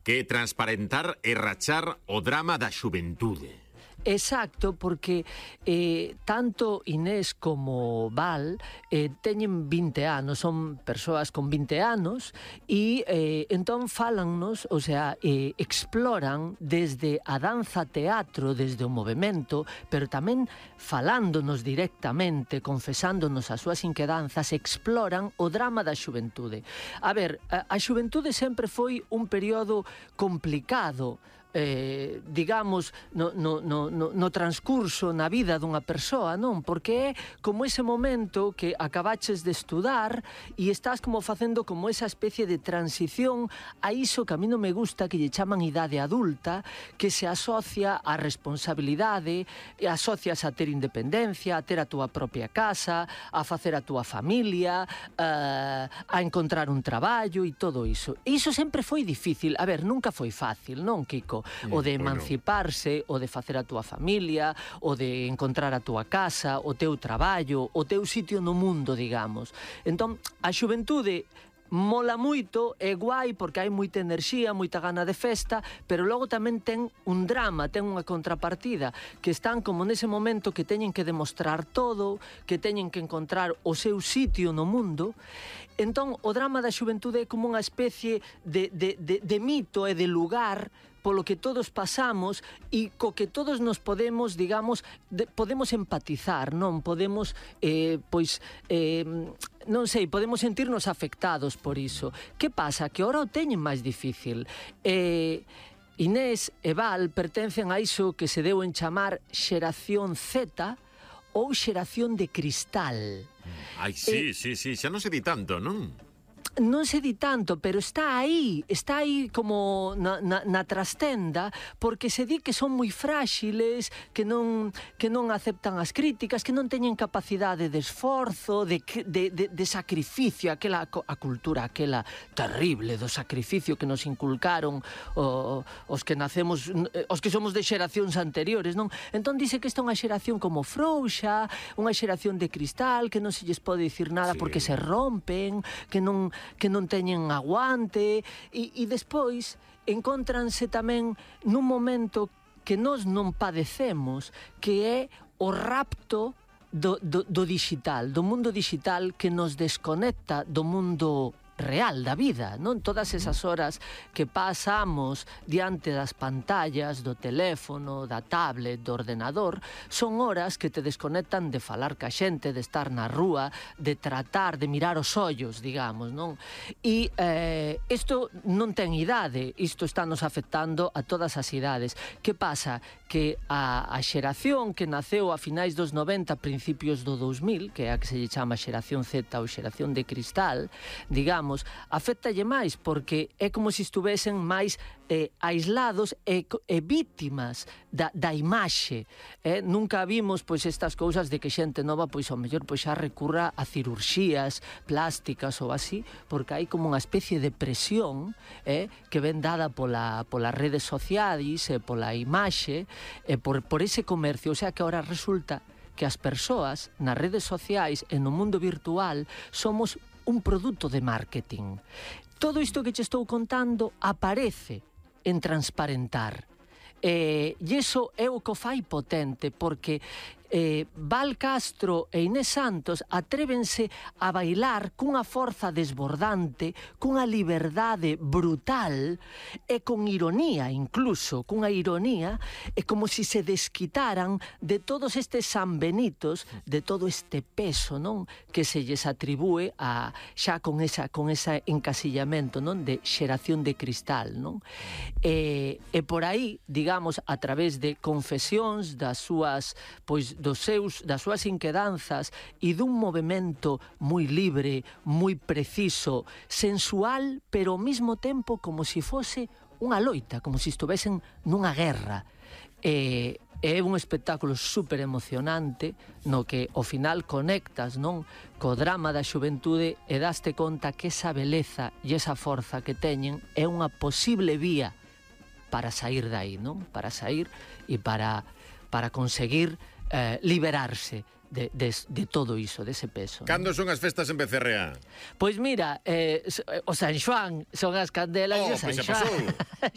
Que transparentar e rachar o drama da xuventude. Exacto, porque tanto Inés como Val teñen 20 anos, son persoas con 20 anos e entón falannos, o sea, exploran desde a danza teatro, desde o movimento, pero tamén falándonos directamente, confesándonos as súas inquedanzas, exploran o drama da xuventude. A ver, a xuventude sempre foi un período complicado, digamos, no transcurso na vida dunha persoa, non? Porque é como ese momento que acabaches de estudar e estás como facendo como esa especie de transición a iso que a mí non me gusta, que lle chaman idade adulta, que se asocia á responsabilidade, e asocias a ter independencia, a ter a túa propia casa, a facer a túa familia, a encontrar un traballo e todo iso. E iso sempre foi difícil. A ver, nunca foi fácil, non, Kiko? O de emanciparse, o de facer a túa familia, o de encontrar a túa casa, o teu traballo, o teu sitio no mundo, digamos. Entón, a xuventude mola moito, é guai porque hai moita enerxía, moita gana de festa, pero logo tamén ten un drama, ten unha contrapartida, que están como nese momento que teñen que demostrar todo, que teñen que encontrar o seu sitio no mundo. Entón, o drama da xuventude é como unha especie de mito e de lugar polo que todos pasamos e co que todos nos podemos, digamos, podemos empatizar, non? Podemos, non sei, podemos sentirnos afectados por iso. Que pasa? Que ora o teñen máis difícil. Inés e Val pertencen a iso que se deu en chamar xeración Z ou xeración de cristal. Ai, sí, xa non se di tanto, non? Non se di tanto, pero está aí como na trastenda, porque se di que son moi fráxiles, que non aceptan as críticas, que non teñen capacidade de esforzo, de sacrificio, a cultura aquela terrible do sacrificio que nos inculcaron os que nacemos, os que somos de xeracións anteriores, non? Entón dice que esta é unha xeración como frouxa, unha xeración de cristal, que non se lles pode dicir nada porque se rompen, que non teñen aguante, e despois encóntranse tamén nun momento que nós non padecemos, que é o rapto do digital, do mundo digital, que nos desconecta do mundo real da vida, non? Todas esas horas que pasamos diante das pantallas do teléfono, da tablet, do ordenador, son horas que te desconectan de falar ca xente, de estar na rúa, de tratar, de mirar os ollos, digamos, non? E isto non ten idade, isto está nos afectando a todas as idades. Que pasa? Que a xeración que naceu a finais dos 90, principios do 2000, que é a que se lle chama xeración Z ou xeración de cristal, digamos, afectalle máis, porque é como se estuvesen máis aislados e vítimas da imaxe. Nunca vimos pois estas cousas de que xente nova pois ao mellor pois xa recurra a cirurxías plásticas ou así, porque hai como unha especie de presión que ven dada polas redes sociais e pola imaxe e por ese comercio. O sea que ahora resulta que as persoas nas redes sociais e no mundo virtual somos un produto de marketing. Todo isto que che estou contando aparece en Transparentar. E iso é o que o fai potente, porque Val Castro e Inés Santos atrévense a bailar cunha forza desbordante, cunha liberdade brutal e con ironía, incluso, cunha ironía, e como se se desquitaran de todos estes sanbenitos, de todo este peso, non? Que se lles atribúe xa con ese encasillamento, non? De xeración de cristal, non? E por aí, digamos, a través de confesións das súas, pois, das súas inquedanzas e dun movimento moi libre, moi preciso, sensual, pero ao mesmo tempo como se fose unha loita, como se estuvesen nunha guerra. É un espectáculo super emocionante no que ao final conectas, non, co drama da xuventude e daste conta que esa beleza e esa forza que teñen é unha posible vía para sair dai, non? Para sair e para conseguir liberarse de todo iso, dese peso. Cando son as festas en Becerreá? Pois mira, o San Xoán son as candelas e o San Xoán.